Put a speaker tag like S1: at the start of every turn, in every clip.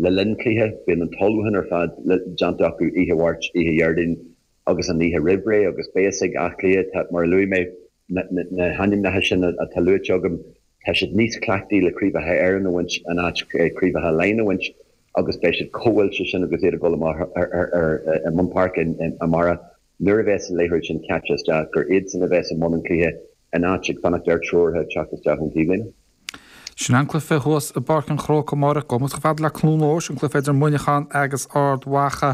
S1: le linn cluiche, bíonn an t-ullmhúchán ar fad déanta acu oíche Mháirt, oíche Dhéardaoin agus an oíche roimh ré agus beidh a fhios ag Áth Cliath, tá, mar a luaigh mé, na hainmneacha sin atá luaite agam, tá siad níos cleachtaí le Craobhacha Éireann a bhaint in áit Craobhacha Laighean a bhaint agus beidh siad chomh oilte sin agus iad ag dul amach i mbun páirce amárach nuair a bheas an liathróid sin caite isteach gur iadsan a bheas i mbun an chluiche in áit ag fanacht ar treoraithe teacht isteach ón taobhlíne.
S2: Sin an cluiche thuas i bPáirc an Chrócaigh amárach. Gabhfaidh muid chomh fada le Cluain Eois, an cluiche idir Muineachán agus Ard Mhacha.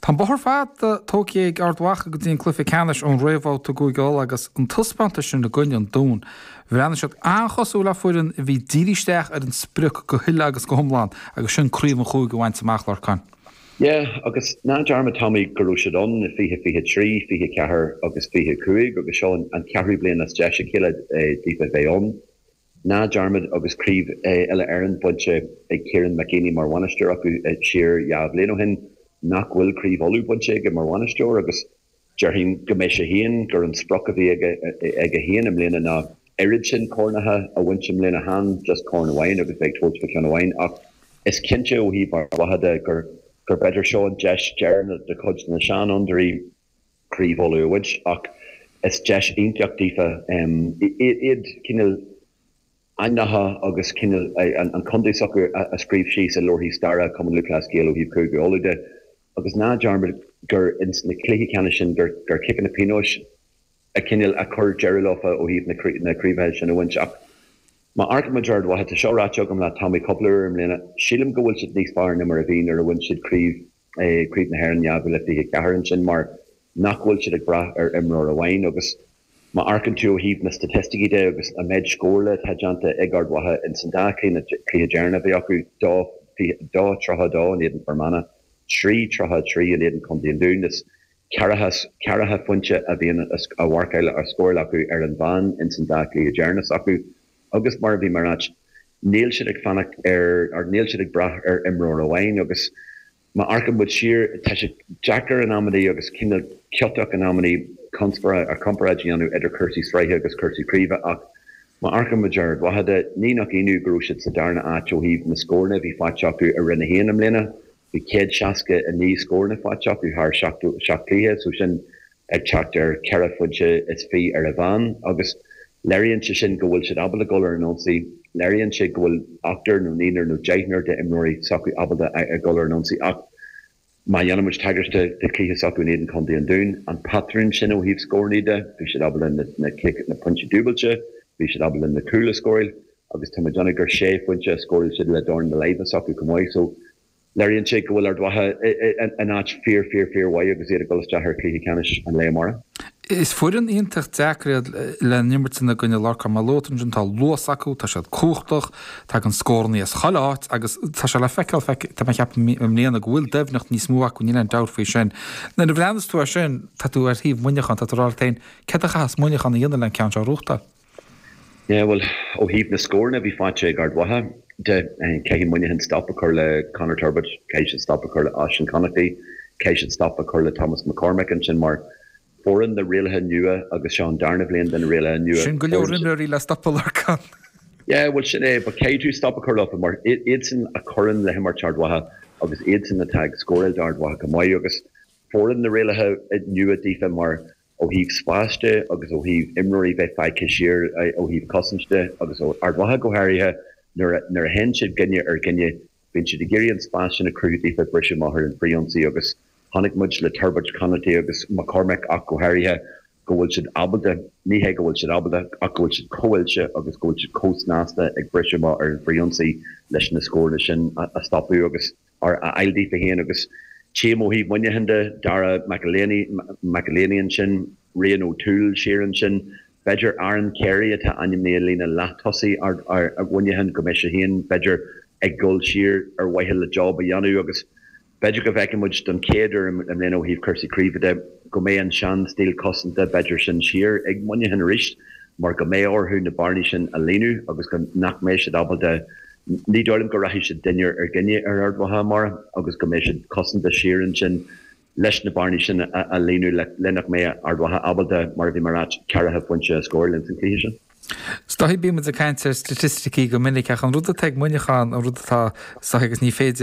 S2: Tá an bóthar fada tógtha ag Ard Mhacha go dtí an cluiche ceannais ón réamhbhabhta i gCúige Uladh agus an taispeántas sin i gcoinne an Dúin. Bhreathnaigh siad an-chosúil le foireann a bhí dírithe isteach ar an sprioc go huile agus go hiomlán agus sin craobh an chúige a bhaint amach, Lorcán.
S1: Yeah, agus ná dearmad Tommy go raibh siad ann i 2023, 24 agus 25 agus seo an ceathrú bliain as deis a chéile daofa bheith ann. Ná dearmad agus craobh Uile Éireann bainte ag Kieran McGeeney mar bhainisteoir acu siar dhá bhliain ó shin nach bhfuil craobh Uladh bainte aige mar bhainisteoir agus Déarfainn go mbeidh sé féin, gur an sprioc a bhí aige aige féin i mbliana ná oiread sin cornacha a bhaint i mbliana, chan just corn amháin agus bheith ag tabhairt fá cheann amháin ach is cinnte ó thaobh Ard Mhacha de gur gur b'fhéidir seo an deis deireanach do chuid de na seanfhondúirí Craobh Uladh a bhaint ach is deis iontach daofa iad cineál ainmneacha agus cineál an contae s'acu a scríobh síos i leabharthaí staire Chumann Lúthchleas Gael ó thaobh Cúige Uladh de. Agus ná dearmad gur ins na cluichí ceannais sin gur gur ciceanna pionóis a cineál a chuir deireadh leofa ó thaobh na craobhacha sin a bhaint. Ach má amharcann muid ar Ard Mhacha, tá seo ráite agam leat Tommy cúpla uair i mbliana, sílim go bhfuil siad níos fearr ná mar a bhí nuair a bhain siad craobh Craobh na hÉireann 2024 ansin mar nach bhfuil siad ag brath ar imreoir amháin agus má amharcann tú ó thaobh na staitisticí de agus an méid scórála atá déanta ag Ard Mhacha ins an dá chluiche deireanach a bhí acu, 2, 2, 32 in éadan Fear Manach, 3, 33 in éadan Contae an Dúin, is ceathracha phointe a bhíonn á mharcáil á scóráil acu ar an mheán ins an dá chluiche deireanach s'acu agus mar a bhí mé ag ráit, níl siad ag fanacht ar, or níl siad ag brath ar imreoir amháin agus. Má amharcann muid siar, tá sé deacair in amannaí agus cineál ciotach in amannaí comparáid a dhéanamh idir cúrsaí sraithe agus cúrsaí craoibhe ach má amharcann muid ar Ard Mhacha de, ní nach ionadh go raibh siad sa darna áit ó thaobh na scóranna a bhí faighte acu i Roinn 1 i mbliana. Bhí 169 scóranna faighte acu thar 77 cluiche, so sin ag teacht ar cheithre phointe is fiche ar an mheán agus léiríonn sé sin go bhfuil siad ábalta dul ar an ionsaí, léiríonn sé go bhfuil ochtar nó naonúr nó deichniúr d'imreoirí s'acu ábalta a dhul ar an ionsaí ach má dhéanann muid tagairt do chluiche s'acu in éadan Chontae an Dúin, an patrún sin ó thaobh scóranna de, bhí siad ábalta na na pointí dúbailte, bhí siad ábalta na cúil a scóráil agus tá mé ag déanamh gur sé phointe a scóráil siad le dorn na láimhe s'acu chomh maith so Léiríonn sé go bhfuil Ard Mhacha in áit fíor, fíor, fíor mhaith agus iad ag dul isteach ar chluiche ceannais an lae amárach.
S2: Is foireann iontach deacair iad le n-imirt ina gcoinne Lorcán. Mar a luaigh tú ansin, tá luas acu, tá siad cumhachtach, tagann scóranna as chuile áit agus tá sé le feiceáil, tá mé ag ceapadh i mbliana go bhfuil doimhneacht níos mó acu, níl aon dabht faoi sin. Nuair a bhreathnas tú air sin, tá tú ar thaobh Mhuineacháin, tá tú ag rá leat féin, céard a chaithfeas Muineachán a dhéanamh le an ceann seo a ghnóthachtáil?
S1: Yeah, bhuel, ó thaobh na scóranna a bhí faighte ag Ard Mhacha de, caithfidh Muineachán stop a chur le Conor Turbitt, caithfidh siad stop a chur le Oisin Connaughty, caithfidh siad stop a chur le Thomas McCormack ansin mar foireann na rialacha nua agus seo an darna bhliain de na rialacha nua.
S2: Sin go leor imreoirí le stopadh, Lorcán.
S1: Yeah, bhuel sin é, but caithfidh tú stop a chur leofa mar iadsan a chuireann le himirt Ard Mhacha agus iadsan atá ag scóráil d'Ard Mhacha go maith agus foireann na rialacha nua daofa mar Ó thaobh spáis de agus ó thaobh imreoirí bheith fágtha siar ó thaobh cosaint de agus ó Ard Mhacha go háirithe nuair a nuair a théann siad duine ar dhuine bíonn siad ag iarraidh an spás sin a chruthú daofa briseadh amach ar an frithionsaí agus chonaic muid le Turbitt, Connaughty agus McCormack ach go háirithe go bhfuil siad ábalta, ní hé go bhfuil siad ábalta ach go bhfuil siad chomh oilte agus go bhfuil siad chomh snasta ag briseadh amach ar an frithionsaí leis na scóranna sin a stopadh agus a fháil daofa féin agus tchím ó thaobh Muineacháin de, Dara McEleney, McEleney ansin, Rian O'Toole siar ansin, b'fhéidir Aaron Carey atá ainmnithe i líne leath-tosaigh Mhuineacháin go mbeidh sé féin b'fhéidir ag dul siar ar mhaithe le job a dhéanamh agus b'fhéidir go bhfeicfidh muid don chéad uair i mbliana ó thaobh cúrsaí craoibhe de go mbeidh an sean-stíl cosanta b'fhéidir sin siar ag Muineachán arís mar go mbeidh orthu na bearnaí sin a líonadh agus go nach mbeidh siad ábalta Ní dóigh liom go rachaidh siad duine ar dhuine ar Ard Mhacha amárach agus go mbeidh siad cosanta siar ansin leis na bearnaí sin a líonadh le nach mbeidh Ard Mhacha ábalta, mar a bhí mé ag ráit, ceathracha pointe a scóráil ins an chluiche sin.
S2: Is dóichí bíonn muid ag caint ar staitisticí go minic ach an rud atá ag Muineachán, an rud atá, is dóichí agus ní féidir.